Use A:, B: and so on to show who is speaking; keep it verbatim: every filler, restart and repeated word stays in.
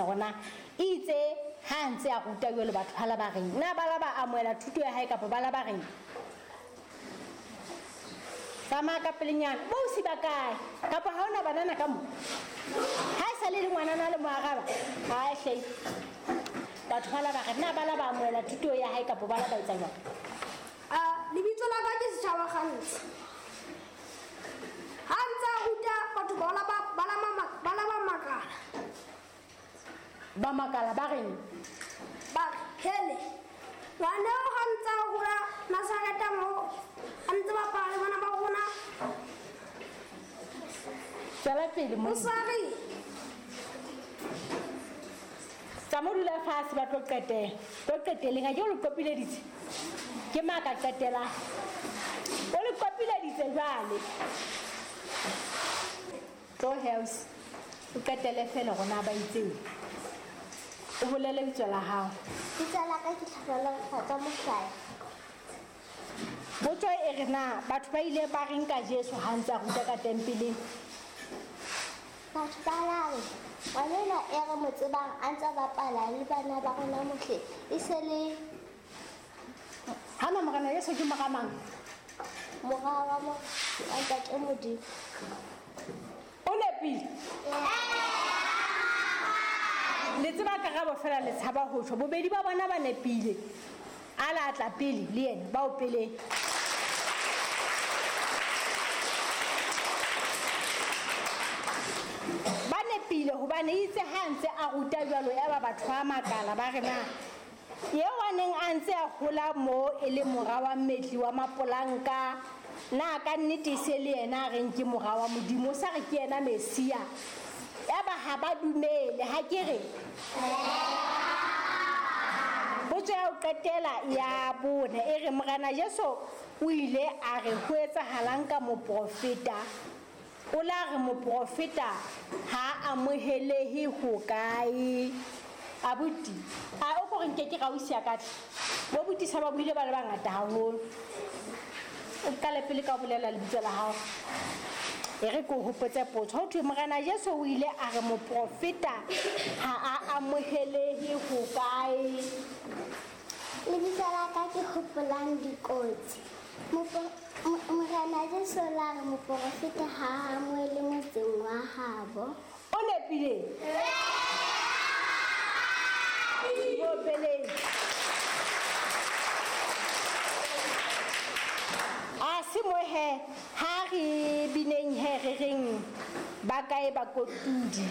A: Rona itse ha ntse a ruta jwalo batho hala ba reng na ba la ba amohela thuto ya hae kapa ba la ba reng tsamaya ka pelenyana bo si ba kae kapa ha ona banana ka mo ha e sa le le ngwanana le mo araba ha e hle batho ba la ba reng na ba la ba amohela thuto ya hae kapa ba la ba etsa jwang.
B: A lebitso la ka ke Setjhaba Kgantsi. Ha ntse a ruta batho ba la ba ba la ba la ba makala.
A: Ba makala ba reng
B: ba re hele ngwana o ha ntse a hola Nazareta mo a ntse bapala le bana ba rona.
A: Tswela pele mo.
B: O sa re
A: tsa mo dula fatshe ba tlo qetela tlo qeteleng ha ke o le qopileditse ke maka qetela o le qopileditse jwale tlo house o qetele fela rona ba itseng o bolele lebitso la hao.
C: Lebitso la ka ke Tlhonolofatso Mohlala.
A: Potso e re na batho ba ile ba reng ka Jesu ha ntse a ruta ka tempeleng?
C: Batho ba la re ngwana enwa e re mo tsebang a ntse a bapala le bana ba rona mohle e se le
A: hana morena Jesu ke mora mang?
C: Mora wa mo wa Ntate Modimo.
A: O nepile. Le tseba karabo fela le tshaba ho tjho bobedi ba bona ba nepile a la tla pele le yena ba o pele ba nepile hobane itse ha ntse a ruta jwalo ya ba batho ba makala ba re na eo a neng a ntse a hola mo e le mora wa mmetli wa mapolanka na ka nnete se le yena a reng ke mora wa Modimo o sa re ke yena Mesia ya ba ha ba dumele ha ke re potso ya ho qetela ya bone e re morena Jesu o ile a re ho etsahalang ka moprofeta o la re moprofeta ha amohelehe ho kae abuti a o ko re nke ke rausi ya katle bo butisa ba buile ba le bangata haholo o qale pele ka bolela lebitso la hao e re ko hopotse potso ho thwe morena Jesu o ile a re moprofeta ha a amohelehe ho kae.
C: Lebitso la ka ke Hopolang Dikotsi. Morena Jesu la re moprofeta ha a amohele motseng wa habo.
A: O nepile mo peleng a se mo he ha re bineng he re reng ba kae bakotudi.